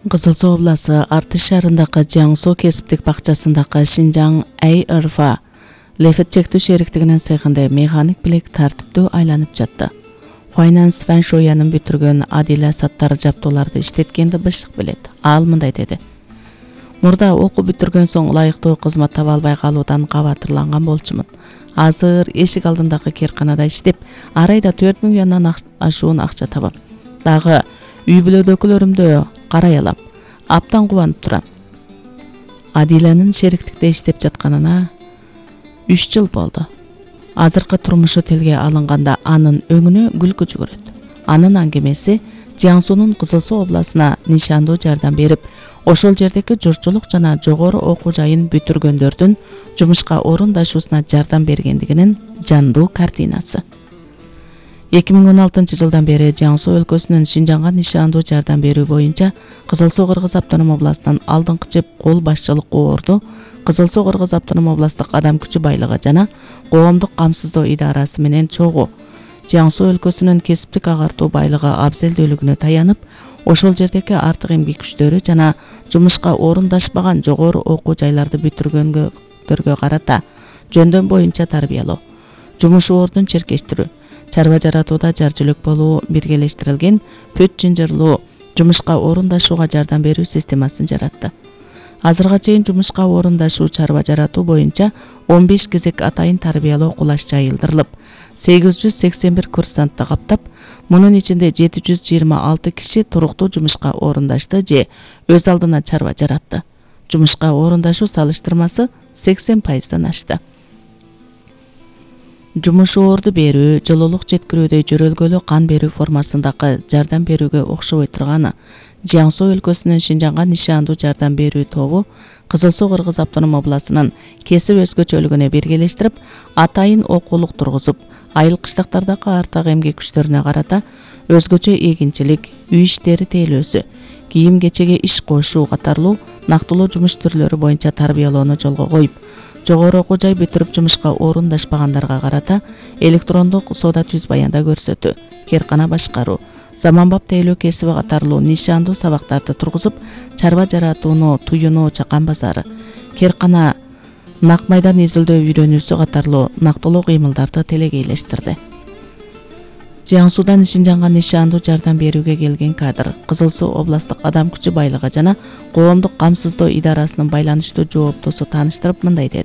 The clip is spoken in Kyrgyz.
Кызыл Суу областы Артыш шаарындагы Жаңсу кесиптик бакчасындагы Шинжаң АРФ Лефет чектүү шериктигинин цехинде механик билек тартиптүү айланып жатты. Finance Фэн Шоянын бүтүргөн Адила саттар жаптууларды иштеткенди бышык билет. Ал мындай деди. Мурда окуу бүтүргөн соң ылайыктуу кызмат таба албай калуудан кабатырланган болчумун. Азыр эшик алдындагы кирканада иштеп, ар айда 4000 янан ашуун акча табам. Дагы үй бүлөдөгүлөрүмдү карай алам. Аптан кубанып турам. Адиланын шериктикте иштеп жатканына 3 жыл болду. Азыркы турмушу тилге алынганда анын өңүнө күлкү жүгүрөт. Анын аңгемеси Жаңсунун Кызыл Суу областына нишандуу жардам берип, ошол жердеги журтчулук жана жогору окуу жайын бүтүргөндөрдүн жумушка орундашуусуна жардам бергендигинин жандуу картинасы. 2016 жылдан бери Жаңсу өлкөсүнүн Шинжаңга нишандуу жардам берүү боюнча Кызыл Суу Кыргыз автоном областынан алдыңкы жеп кол башчылык орду Кызыл Суу Кыргыз автоном областык адам күчү байлыгы жана коомдук камсыздоо идарасы менен чогуу Жаңсу өлкөсүнүн кесиптик агартуу байлыгы абзелдүүлүгүнө таянып, ошол жердеги артык эмгек күчтөрү жана жумушка орундашпаган жогору окуу жайларды бүтүргөнгөргө карата жөндөм боюнча тарбиялоо, жумуш ордун черкештирүү, чарба жаратууда жар жөлөк болуу биргелештирилген пөт жынжырлуу жумушка орундашууга жардам берүү системасын жаратты. Азырга чейин жумушка орундашуу чарба жаратуу боюнча 15 кезек атайын тарбиялоо кулаш жайылдырылып, 881 курсантты каптап, мунун ичинде 726 киши туруктуу жумушка орундашты же өз алдына чарба жаратты. Жумушка орундашуу салыштырмасы 80%дан ашты. Жумуш орду берүү, жылуулук жеткирүүдө жөрөлгөлүү кан берүү формасындагы жардам берүүгө окшобой турганы Жаңсу өлкөсүнүн Шинжаңга нишандуу жардам берүү тобу Кызыл Суу Кыргыз автоном областынын кесип өзгөчөлүгүнө биргелештирип, атайын окуулук тургузуп, айыл кыштактардагы артык эмгек күчтөрүнө карата өзгөчө эгинчилик, үй иштери тейлөөсү, кийим кечеге иш кошуу катарлуу нактылуу жумуш түрлөрү боюнча тарбиялоону жолго коюп, жогору окуу жай бүтүрүп жумушка орундашпагандарга карата электрондук соода түз баянда көрсөтүү, керкана башкаруу, заманбап тейлөө кесиби катарлуу нишандуу сабактарды тургузуп, чарба жаратууну, туюну, чакан базары, керкана, нак майдан изилдөө үйрөнүүсү катарлуу нактылуу кыймылдарды телегейлештирди. Жаңсудан Шинжаңга нишандуу жардам берүүгө келген кадр Кызыл Суу областык адам күчү байлыгы жана коомдук камсыздоо идарасынын байланыштуу жооптусу тааныштырып мындай деди.